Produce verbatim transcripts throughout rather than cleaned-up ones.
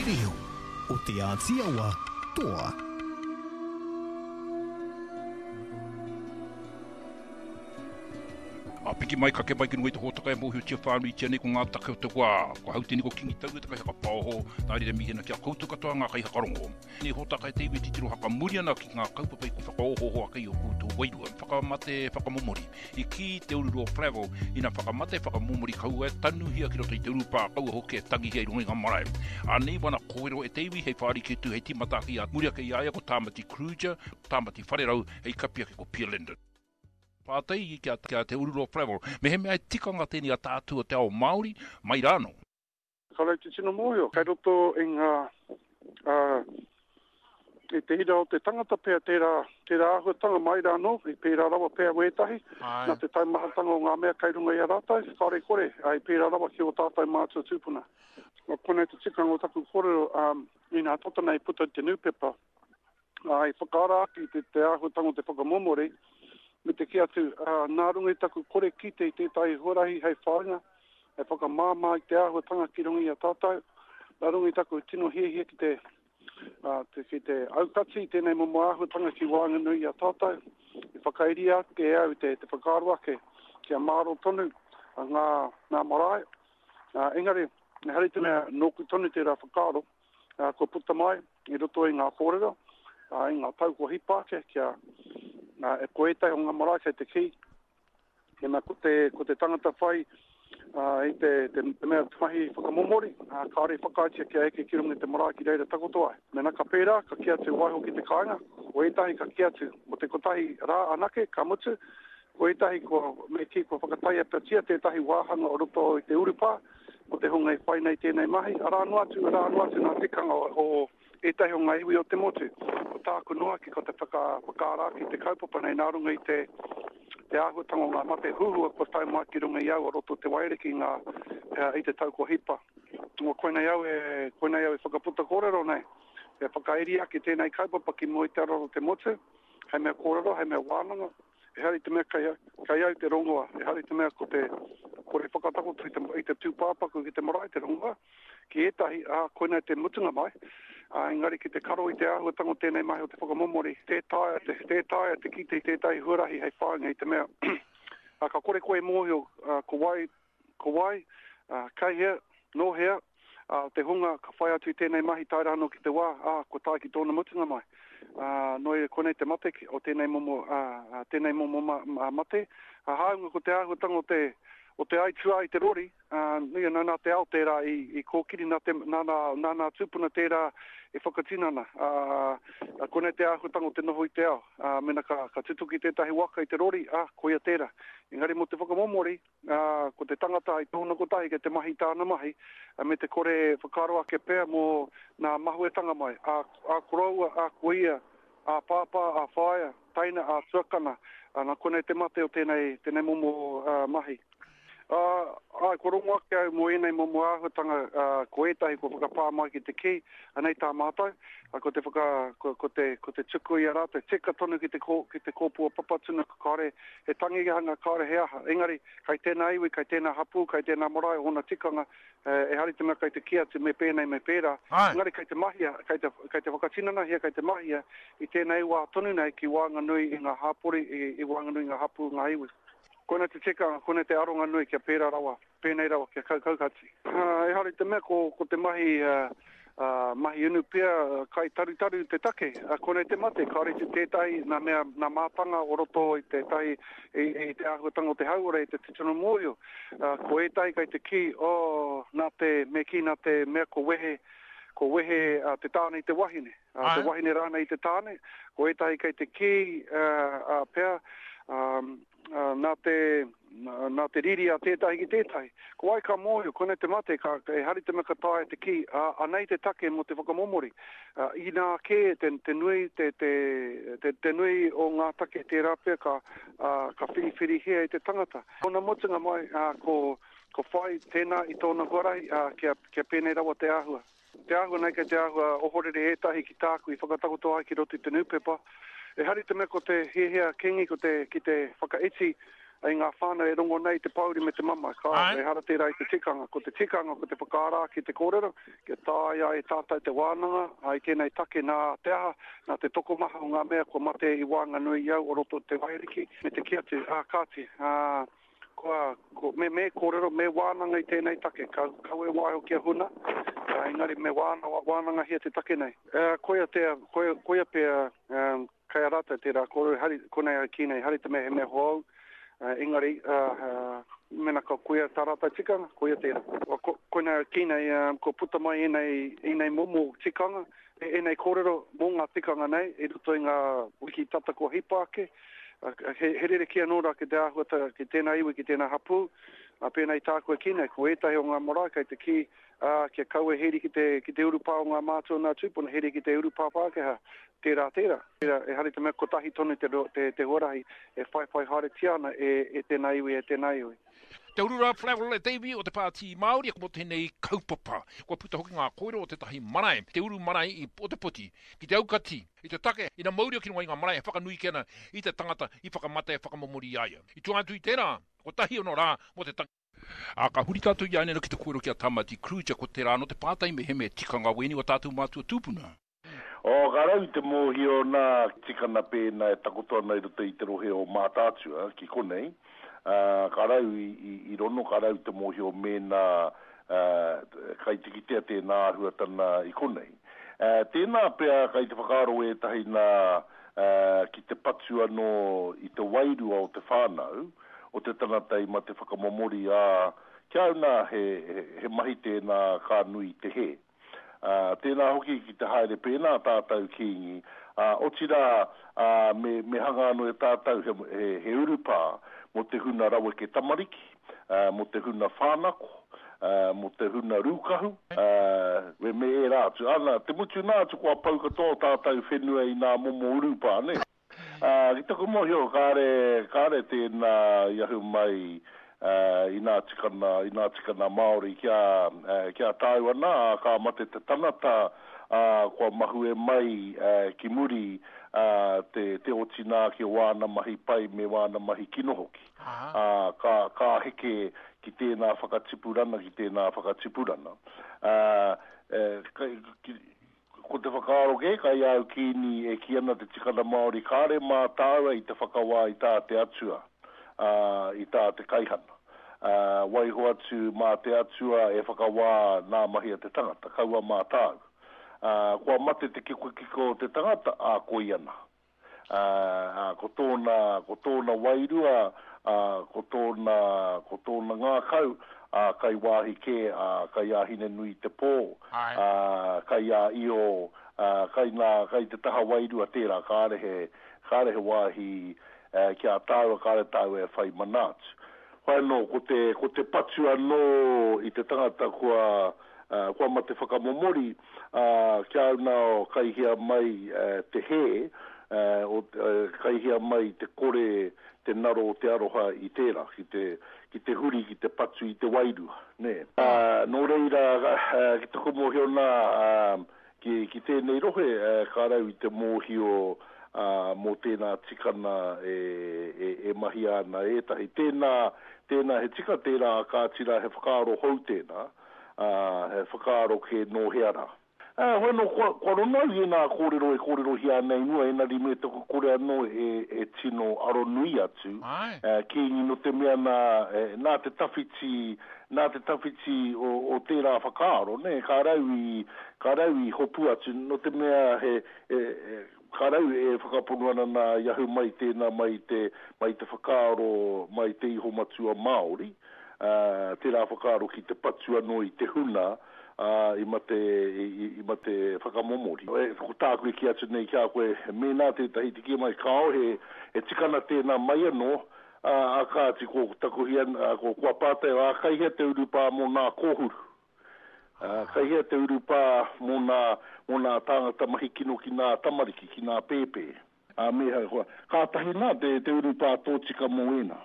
Reo o Te Āti Awa toa. A piki mai, kake mai ki runga i te hōtaka e mōhiotia whānuitia nei ko ngā take o te wā. Ko hau tēnei ko Kingi Taua te kaihakapaoho, nā reira mihi ana ki a koutou katoa ngā kaihakarongo. Nei hōtaka e te iwi titiro hakamuri ana ki ngā kaupapa i whakaohooho ake i o koutou wairua. Whakamate whakamomori. I kī Te Ururoa Flavell, ina whakamate whakamomori kaua e tanuhia ki roto i te urupā, kaua hoki e tangihia i runga i ngā marae. Anei wana kōrero e te iwi hei whāriki atu, hei tīmata ake i a muri ake i a ia ko Tāmati Kruger, Tāmati Wharerau, hei kapi ake ko Pia Linden. Pātai ki a, ki a Te Ururoa Flavell, mehemea e tikanga tēnei a tātou o te ao Māori, mai rānō. Kāore te tino mōhio, kei roto i ngā, uh, i te ira o te tangata pea tērā, tērā āhuatanga mai rānō, i pērā rawa pea wētahi, nā te taumahatanga o ngā mea kei runga i a rātou, kāore kore, ai pērā rawa ki o tātou mātua tūpuna. Nā konei te tikanga o taku kōrero, um, inā tata nei puta i te nūpepa, uh, i whakaara ake te, te āhuatanga o te whakamomori, me te kī atu, uh, nā runga i taku kore kite i tētahi huarahi hei whāinga, hei whakamāmā i te āhuatanga ki runga i a tātou, nā runga i taku tino hiahia ki te, uh, te, ki te aukati i tēnei momo āhuatanga ki waenganui i a tātou, i whakairia ake e au te, te whakaaro ake kia māro tonu ngā, ngā marae. Uh, engari, ehara i te mea nōku tonu tērā whakaaro, uh, kua puta mai i roto i ngā kōrero, uh, i ngā tau kua hipa ake kia Nā, e ko ētahi o ngā marae kei te kī, mena ko te, ko te tangata whai uh, i te, te, te mea mahi whakamomori, uh, kāore i whakaaetia kia eke ki runga i te marae ki reira takoto ai. Mena ka pērā, ka kī atu waiho ki te kāinga, ko ētahi ka kī atu mo te kotahi rā anake, ka mutu, ko ētahi kua, me kī kua whakataiapatia tētahi wāhanga o roto i te urupā, mo te hunga i whai nei tēnei mahi, arā noa atu, arā noa atu ngā tikanga o, o ētahi o ngā iwi o te motu. Ko tāku noa ki ko te whaka, whakaara ake te kaupapa nei nā runga i te, te āhuatanga o ngā mate huhua kua tae mai ki runga i au o roto te Waiariki ngā, i te tau kua hipa. Nō koinei au e, koinei au e whakaputa kōrero nei, e whakairi ake tēnei kaupapa ki mua i te araro te motu, hei mea kōrero, hei mea wānanga, ehara i te mea kei, kei au te rongoa, ehara i te mea ko te kore whakatakoto i te, i te tūpāpaku ki te marae te rongoa, ki ētahi, ā, koinei te mutunga mai, ā, engari ki te karo i te āhuatanga o tēnei mahi o te whakamomori, tē taea te, tē taea te kite i tētahi huarahi hei whāinga i te mea, ā, ka kore koe e mōhio, ā, ko wai, ko wai, ā, kei hea, nō hea, ā, te hunga ka whai atu i tēnei mahi tae rānō ki te wā, ā, kua tae ki tōna mutunga mai. Ā, nō reira, koinei te mate o tēnei momo, ā, tēnei momo ma, ma, mate. Ā, hāunga ko te āhuatanga o te, o te aituā i te rori, ā, nui ana nā te ao tērā i, i kōkiri, nā, te, nā, nā, nā nā tūpuna tērā e whakatinana. Ā, koinei te āhuatanga o te noho i te ao. Ā, mena ka, ka tutuki tētahi waka i te rori, ā, koia tērā. Engari mō te whakamomori, ā, ko te tangata i tōna kotahi kei te mahi tāna mahi, ā, me te kore whakaaro ake pea mō nā mahuetanga mai. Ā, ā koroua, ā koia, ā pāpā, ā whaea, taina, ā tuakana. Ā, nā konei te mate o tēnei, tēnei momo ā, mahi. Ā, āe, kua rongo ake au mō ēnei momo āhuatanga, ā, ko ētahi kua whakapā mai ki te kī, anei tā mātou, ā, ko te whaka, ko, ko te, ko te tuku i a rātou, tika tonu ki te kō, ki te kōpua papatuna, kāore he tangihanga, kāore he aha. Engari, kai tēnā iwi, kai tēnā hapū, kai tēnā marae, ōna tikanga, ehara i te mea kai te kī atu me pēnei, me pērā. Engari kai te mahia, kai te, kai te whakatinanahia, kai te mahia i tēnei wā tonu nei ki waenganui i ngā hapori, i, i waenganui i ngā hapū, ngā iwi. Koinei te tikanga, koinei te aronga nui kia pērā rawa, pēnei rawa, kia kaukaukati. Uh, ehara i te mea ko, ko te mahi, uh, uh, mahi unu pea, kai tarutaru te take. Uh, koinei te mate, kāore te tētahi nā mea, nā mātanga o roto i tētahi, i, i te āhuatanga o te hauora, i te tino mōhio. Uh, ko ētahi kai te kī, oh, nā te, me kī nā te mea ko wehe, ko wehe uh, te tāne i te wahine. Uh, te wahine rānei i te tāne. Ko ētahi kai te kī, uh, uh, pea, um, Uh, nā te, nā te riri a tētahi ki tētahi. Ko wai ka mōhio, koinei te mate, ka, ehara i te mea ka taea te kī, uh, anei te take mō te whakamomori. Uh, inā kē te, te, nui, te, te, te, te nui o ngā take tērā pea ka, uh, ka whiriwhirihia e te tangata. Kona mutunga mai, uh, ko, ko whai tēnā i tōna huarahi, uh, kia, kia pēnei rawa te āhua. Te āhua nei kei te āhua ohorere ētahi ki tāku i whakatakoto ai ki roto i te nūpepa. Ehara i te mea ko te hiahia Kingi ko te, ki te whakaiti i ngā whānau e rongo nei te pōuri me te mamae. Ka, ehara tērā i te tikanga. Ko te tikanga, ko te whakaara ake te kōrero, kia taea e tātou te wānanga, i tēnei take nā te aha, nā te tokomaha o ngā mea kua mate i waenganui i au o roto te Waiariki, me te kī atu, ā, kāti, ā, kua, ko, me, me kōrero, me wānanga i tēnei take, ka, kaua e waiho kia huna, ā, engari me wāna, wānangahia te take nei. Ā, koia te, koia, koia pea, um, kei a rātou tērā kōrero, hari, konei au kī nei, hari te mea he mea hou, uh, engari, uh, uh, mena ka koia tā rātou tikanga, koia tērā. Ko, konei au kī nei, um, ko puta mai ēnei, ēnei momo tikanga, ēnei kōrero mō ngā tikanga nei, i roto i ngā wiki tata kua hipa ake, he, he rerekē anō rā ki te āhuata, ki tēnā iwi, ki tēnā hapū, a pēnei tāku e kī nei, ko ētahi o ngā marae kei te kī, ā, kia kaua heri ki te, ki te urupā o ngā mātua nā tūpuna, heri ki te urupā Pākehā, tērā, tērā. Tērā, ehara i te mea kotahi tonu te, te, te huarahi e whaiwhai haeretia ana e, e tēnā iwi, e tēnā iwi. Te Urura Flavell e te iwi o te Pāti Māori mō tēnei kaupapa. Kua puta hoki ngā kōrero o tētahi marae, te uru marae i Ōtepoti, ki te aukati i te take ina mauria ki runga i ngā marae e whakanui kē ana i te tangata i whakamate e whakamomori i a ia. I tua atu i tērā, kotahi ono rā mō te tangi. Ā, ka huri tātou i ānei ki te kōrero ki a Tamati Kruger, ko tērā anō te pātai me he mea tikanga wēnei o tātou mātua tūpuna. O, ka rau te mōhio nā tikana pēnā e takoto ana i roto i te rohe o Mātaatua ki konei, ā, ka rau i, i, i rono, ka rau te mōhio mēnā ā, kai te kitea tēnā āhuatana i konei. Ā, tēnā pea kai te whakaaro ētahi nā ā, ki te patu anō i te wairua o te whānau, o te tangata i mate whakamomori, ā, kia au nā he, he, he mahi tēnā ka nui te hē. Ā, tēnā hoki ki te haere pēnā tātou Kīngi, ā, otirā, ā, me, me hanga anō e tātou he, he, he urupā mō te huna raweke tamariki, ā, mō te huna whānako, ā, mō te huna rūkahu, ā, me, me ērā atu. Ana, te mutu nā atu kua pau katoa o tātou whenua i nā momo urupā, nē? Ā, ki taku mōhio, kāre, kāre tēnā i ahu mai, ā, i nā tikana, i nā tikana Māori kia, ā, kia tāu ana, ā, ka mate te tangata, ā, kua mahue mai, ā, ki muri, ā, te, te otinā ki o wāna mahi pai me wāna mahi kino hoki. Ā, ka, ka heke ki tēnā whakatipurana, ki tēnā whakatipurana. Ā, e, kai, ki, ko te whakaaro kē, kai a au kīni e kī ana te tikana Māori, kāre mā tāua i te whakawā i tā te Atua, ā, i tā te kaihana. Ā, waiho atu mā te Atua e whakawā nā mahi a te tangata, kaua mā tāu. Ā, kua mate te kikokiko o te tangata, ā, koia nā. Ā, ā, ko tōna, ko tōna wairua, ā, ko tōna, ko tōna ngākau, ā, kai wāhi kē, ā, kai a Hine-nui-te-pō, ā, kai a Io, ā, kai nā, kai te taha wairua tērā, kāre he, kāre he wāhi, ā, ki a tāua, kāre tāua e whai mana atu. Whai anō, ko te, ko te patu anō i te tangata kua, ā, kua mate whakamomori, ā, kia au nā kai hea mai, ā, te hē, ā, o, ā, kai hea mai te kore, te naro o te aroha i tērā, ki te, ki te huri, ki te patu i te wairua, nē. Ā, nō reira, ā, ki taku mōhio nā, ā, ki, ki tēnei rohe, ā, ka rau i te mōhio, ā, mō tēnā tikana e, e, e mahia ana e ētahi. Tēnā, tēnā he tika tērā, kāti rā he whakaaro hou tēnā, ā, he whakaaro kē nō hea rā. Ā, hoi anō, kua, kua rono au i ēnā kōrero e kōrerohia ana i mua, engari me taku kore anō e, e tino aronui atu, Āe. ā, Kīngi, nō te mea nā, e, nā te tawhiti, nā te tawhiti o, o tērā whakaaro, nē, ka rau i, ka rau i hopu atu, nō te mea he, e, e, ka rau e whakapono ana nā i ahu mai tēnā mai i te, mai i te whakaaro, mai i te iho matua Māori, ā, tērā whakaaro ki te patu anō i te huna, ā, i mate, i, i, i mate whakamomori. E, ko tāku e kī atu nei ki a koe, mēnā tētahi te kī mai, kāo, he, he tikana tēnā mai anō, ā, ā, kāti, ko taku hia, ā, ko, kua pātai, ā, kai hea te urupā mō nā kōhuru? Ā, kai hea te urupā mō nā, mō nā tāngata mahi kino ki nā tamariki, ki nā pēpē? Ā, me, kua, kātahi nā te, te urupā tōtika mō ēnā.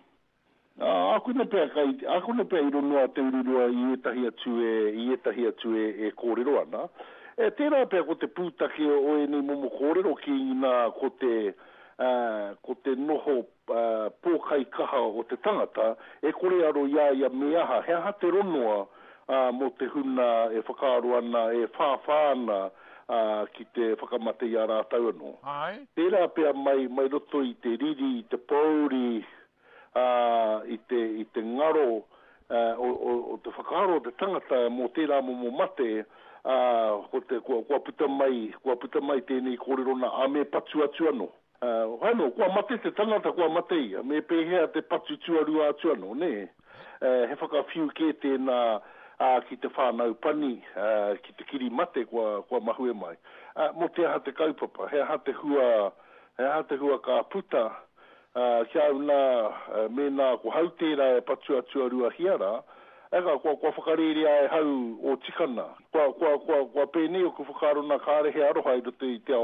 Ā, ākune pea kai, ākune pea i ronoa Te Ururua i ētahi atu e, i ētahi atu e, e kōrero ana. E, tērā pea ko te pūtake o ēnei momo kōrero ki nā ko te, ko te noho pōkaikaha o te tangata, e kore aro i a ia me aha, he aha te ronoa mō te huna e whakaaro ana, e whāwhā ana ki te whakamate i a rātou anō. Āe. Tērā pea mai, mai roto i te riri, i te pōuri, i te, i te ngaro o, o, o te whakaaro o te tangata mō tērā momo mate, ā, ko te, kua, kua puta mai, kua puta mai tēnei kōrero nā, ā, me patu atu anō. Ā, anō, kua mate te tangata, kua mate ia, me pēhea te patu tuarua atu anō, nē? Ā, he whakawhiu kē tēnā, ā, ki te whānau pani, ā, ki te kiri mate kua, kua mahue mai. Ā, mō te aha te kaupapa? He aha te hua, he aha te hua ka puta? Ā, ki a au nā, mēnā ko hau tērā e patua tuaruahia rā, eka, kua, kua whakarērea e hau ō tikana. Kua, kua, kua, kua pēnei oku whakaaro nā kāre he aroha i roto i te ao.